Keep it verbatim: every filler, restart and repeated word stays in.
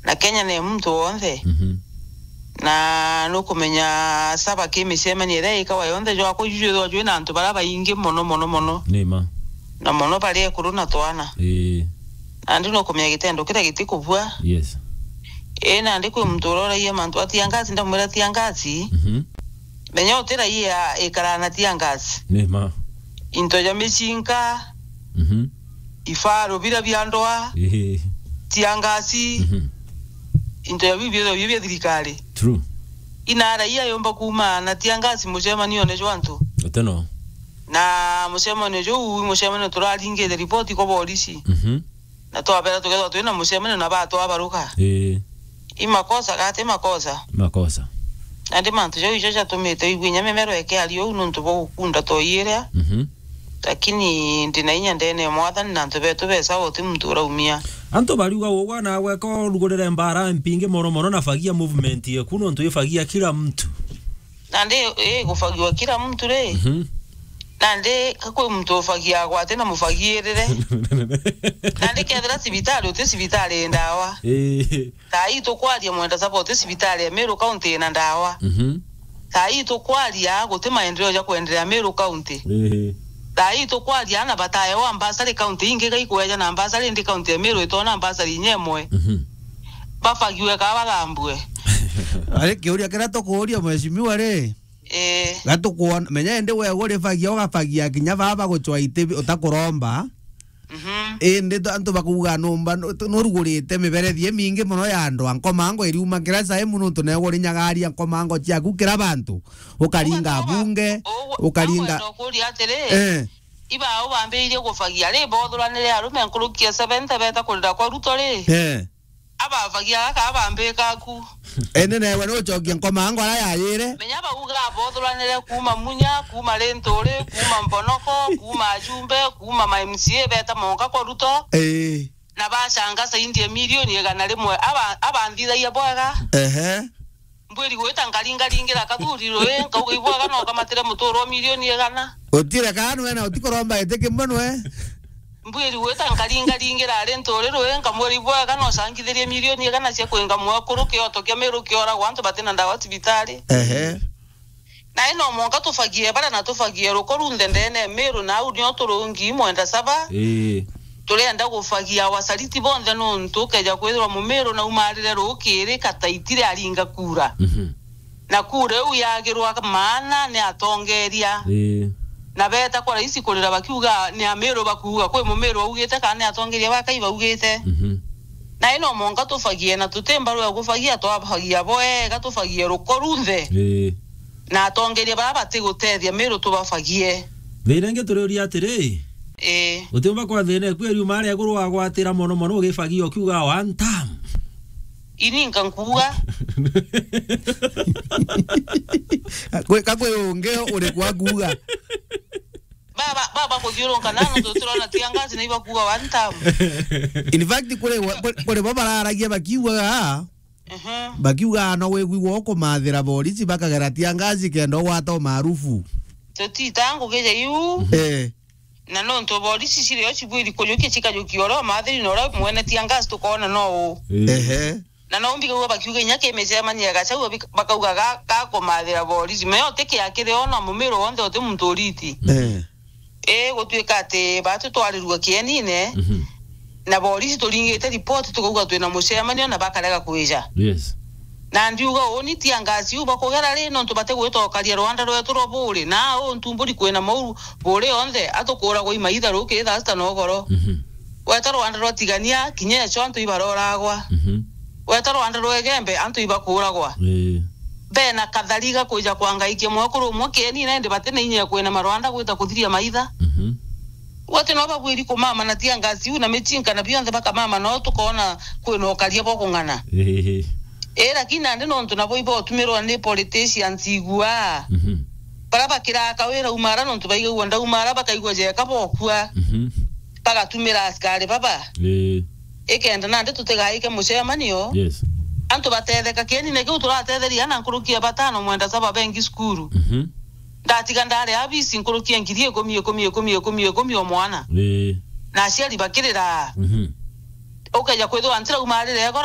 Na Kenya ni muntu wonthe. Mhm. Na nukumenya saba ki micemanio iria ikawa yonthe jwakwa iju jwithwa jwina antu baria baingi mono, mono, mono. Ni ma. Na mono bari ekuru na twana. Ii. Nandi nukumenya gitendo kiria gitikubua. Yes. Ii, nandi kwi muntu uroragia mantu a tear gas, ndamwira tear gas. Mhm. Menya utiraia ikara na tear gas. Ni ma. Into ja micinka. Mhm. Ifaru biria bia ndwa, Ehe. Tear gas, Mhm. Into ya biu biothe biu bia thirikari. True. Ina raia yomba kuuma na tear gas mucemanione jwa antu. Ateno. Na mucemanio juu, mucemanio turaringite ripoti kwa borisi. Mhm. Na twabera tukethwa twina mucemanio na batwabaruka. Ii. I makosa gati makosa. Makosa. Nandi mantu jau ijo jatumite igwe inya mimero ikiaria uu nuntu bwa gukunda toiiria. Mhm. Lakini ndina inya ndene ya Mwathani na antu betu besa uti muntu uraumia. Antu bariuga ugwa na gweka urugurire mbara mpingi mono mono na fagia movement yeku nuntu ifagia kila mtu. Nandi i gufagiwa kila mtu ri? Mhm. Nandi kakwi muntu ufagia gwate na mufagiirire. Nandi kethira cibitari uti cibitari ndawa. Ii. Thaa ii tukwaria mwenda saba uti cibitari ya Meru County ina ndawa. Mhm. Thaa ii tukwaria guti maendeleo ja kwendelea Meru County. Ehe. Thaa ii tukwaria ana bataewa mbasari county ingi gaikweja na mbasari indi county ya Meru itona mbasari inya imwe. Mhm. Bafagiwe ka bathambue. Ari kiuria kiria tukuuria mheshimiwa ri? Eh. Gatukwona, menya indi we urifagia, ugafagia kinya baba gucwa iti utakuromba. Mhm. Indi tu-, antu bakuuga numba nu-, tu-, nurugurite miberethi imingi mono ya andu a nkomango iriuma kira saimu nuntu newe urinyagaria nkomango ciaku kira bantu. Ukaringa Ugatuma, bunge, ugu-, ukaringa ukwenda ukuria atiri, Eh. Iba ubambiirie gufagia ri, bothuranire arume nkuruki ya seventy beta kurira kwa Ruto ri? Eh. Ababagia gaka abambika aku. Indi newe nucokia nkomango ara yayire. Menya bauga abothuranire kuuma Munya, kuuma Linturi, kuuma Mbonoko, kuuma Ajumbe, kuuma ma M C A beta monka kwa Ruto. Ii. Na bacanga saindi ya milioni igana rimwe. Aba-, abanthithagia bwega. Ehe. Mbwiri gwita nkaringaringira kathuri rui, nkauga ibwega no kamatire muturo wa milioni igana. Utire kana nwe na utikuromba iti kimwe nwe. Mbwiri gwita nkaringaringira ari nturi rui, nkamwira ibwega no cangithirie milioni igana cia kwinga mwekuru kioto kia Meru kioragwa antu batina ndawa cibitari. Ehe. Na ino mwanka tufagie bara na tufagie ruko runthe ndene Meru na au nio turungi mwenda saba. Ii. Turenda gufagia wasaliti bonthe nuntu ukeja kwithirwa Mumiru naumarire rukiri kataitire aringa kura. Mhm. Na kura iu yagirwa maana ni atongeria. Ii. Na beta kwa raisi kurira bakiuga ni Amiru bakuuga kwi Mumiru augite kana ni atongeria ba Kai baugite. Mhm. Na ino mwanka tufagie na tuti mbaru ya gufagia twafagia bwega tufagie ruko runthe. Ii. Na atongeria bara batigutethia Miru tubafagie. Thina ingi turiuria atiri, Ii. Utiumba kwa thina eku eriuma aria iguru wagwatira mono mono ugifagia ukiuga one time. Ini nkankuuga. Kwi, ka kwi ungi uri kwa kuuga. Baba, baba kuthiurunka na antu turona tear gas na ibakuuga one time. In fact, kuri, kuri, kuri bo bararagia bakiugaga, Mhm. Bakiuga no wigwigwa ukumathira borisi bakagera tear gas kenda ugwata umaarufu. Tutita ngugi ja iu. Eh. Na nontu borisi cirio cibwiri kujukia cikajukia uria umathiri na uria mwene tear gas tukoona no u. Ii. Ehe. Na no mbigagua bakiuga inya ki micemanio ya gacau bik-, bakauga ga, ga kumathira borisi. Meo ti kia kiri ona Mumiru wonthe uti muntu uriti. Eh. Ii, gutuika ati batu twarirua kienine, Mhm. na borisi turingite ripoti tukauga twina mucemanio na bakarega kwija. Yes. Na ndiuga uni tear gas iu bakugera ri, nontu batigwita ukaria rwanda rwetu rwa buri, na au ntumburi kwina mau buri onthe, atukuragwa imaitha rukiri thaa sita na ugoro. Mhm. Weta rwanda rwa Tigania, kinya eco antu ibaroragwa. Mhm. Weta rwanda rwa Igembe, antu ibakuragwa. Ii. Bena kathari ga kwija kwangaikia mwekuru umwe kieni, na indi bati na inya ya kwina marwanda gwita kuthiria maitha. Mhm. Wati no babwiri kumama na tear gas iu na michinka na bionthe bakamama, no tukoona kwina ukaria bwa kung'ana. Ii. Ii, lakini nandi nontu nabo ibotumirwa ni politicians igua. Mhm. Bara bakiraga kawira umara nontu baigagua ndaumara bakaigua jeka bokua. Mhm. Bagatumira askari baba. Ii. Ikenda nandi tutigaike mucemanio. Yes. Antu batetheka kienine kiu turatetheria na nkuruki ya batano mwenda saba bengi cukuru. Mhm. Ndatiga ndari abisi nkuruki ya ngiri ikumi, ikumi, ikumi, ikumi, ikumi o mwana. Ii. Na aciari bakirira. Mhm. Ukeja kwithirwa ntira umarire goro